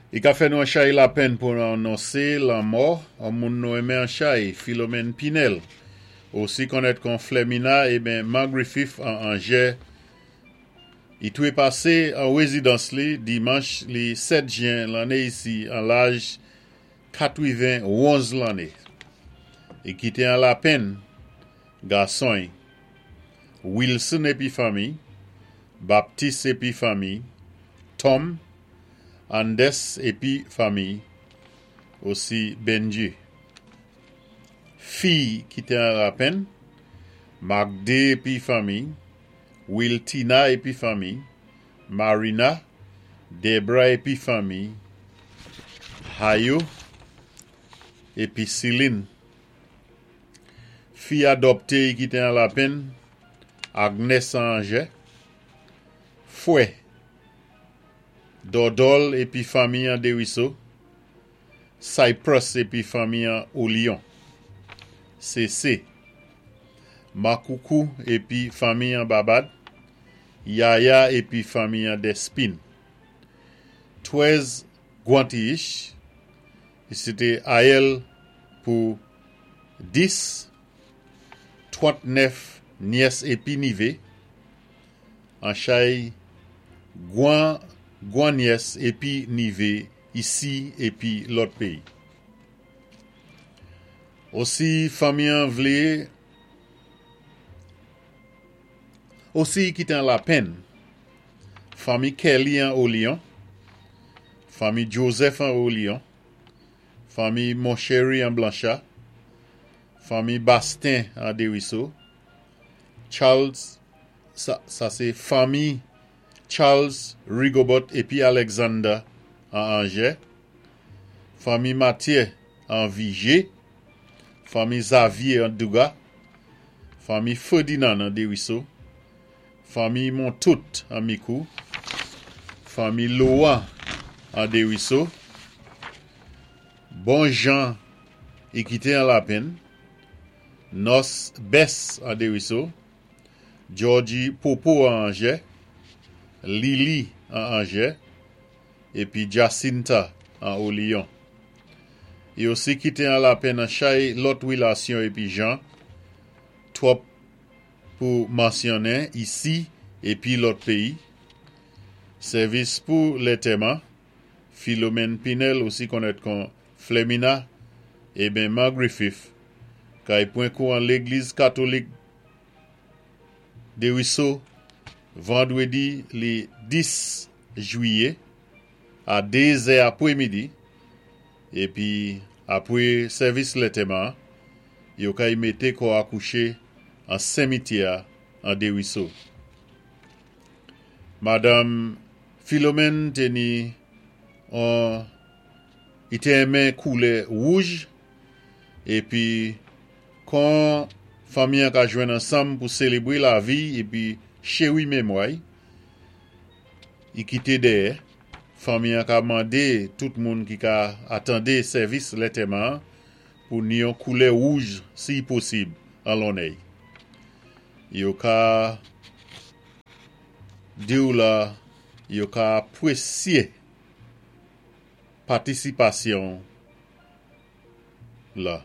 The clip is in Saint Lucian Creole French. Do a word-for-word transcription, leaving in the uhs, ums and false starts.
I ka fè nou an chay lapenn pou nou anonsé lanmò an moun nou enmen an chay, Philomène Pinel. Osi konnèt kon Flemina eben Griffith an Anjè. I touwé pasé an wézidans li dimanch li sèt jwen lanné isi an laj katwenwonz lanné. I kité an lapenn gason Wilson épi fanmi, Baptiste épi fanmi, Tom, Andes épi fanmi, osi Benji. Fi kité an lapenn, Magde épi fanmi, Wiltina épi fanmi, Marina, Debra épi fanmi, Hayo épi Céline. Fi adopté kité an lapenn, Agnes Anjè, Fouet, Dodol épi fanmi an Desruisseaux, Cyprus épi fanmi an Olion, C C, Makoukou épi fanmi an Babad, Yaya épi fanmi an Despine. Twèz Guantich, sé ayèl pou dis, trantnèf nyès épi nivé, an chay gwan gwan nyès épi nivé isi épi lòt péyi. Osi fanmi an vlé osi kité an lapenn fanmi Kelly an Olion, fanmi Joseph an Olion, fanmi Monchery an Blanchard, fanmi Bastin an Desruisseaux, Charles, sa, sa sé fanmi Charles Rigobot épi Alexander an Angers, fanmi Mathieu an Vigé, fanmi Xavier an Douga, fanmi Ferdinand an Desruisseaux, fanmi Montout an Micoud, fanmi Loan an Desruisseaux, Bon Jean i kité an lapenn, Nos Bess an Desruisseaux, Georgie Popo an Angers, Lily an Angers, épi Jacinta an Olion. I osi kité an lapenn an chay lòt wilasyon épi jan, twòp pou mansyonnen isi épi lòt péyi. Sèvis pou lantèman, Philomène Pinel, osi konnèt kon Flemina, eben Ma Griffith, kay pwan kou an Légliz Katolik Desruisseaux, vandwédi li dis jwiyé, a dé zè apwémidi, épi apwé sèvis lantèman, yo kay mété kò a kouché an simityè an Desruisseaux. Madame Philomène té ni an i té enmen koulè wouj épi kon fanmi an ka jwenn ansanm pou sélébwé lavi épi chéwi mémwa i kité dèyè, fanmi an ka mandé tout moun ki ka atandé sèvis lantèman pou ni yon koulè wouj si posib an lonnè. Yo ka di ou la yo ka apwésyé patisipasyon la.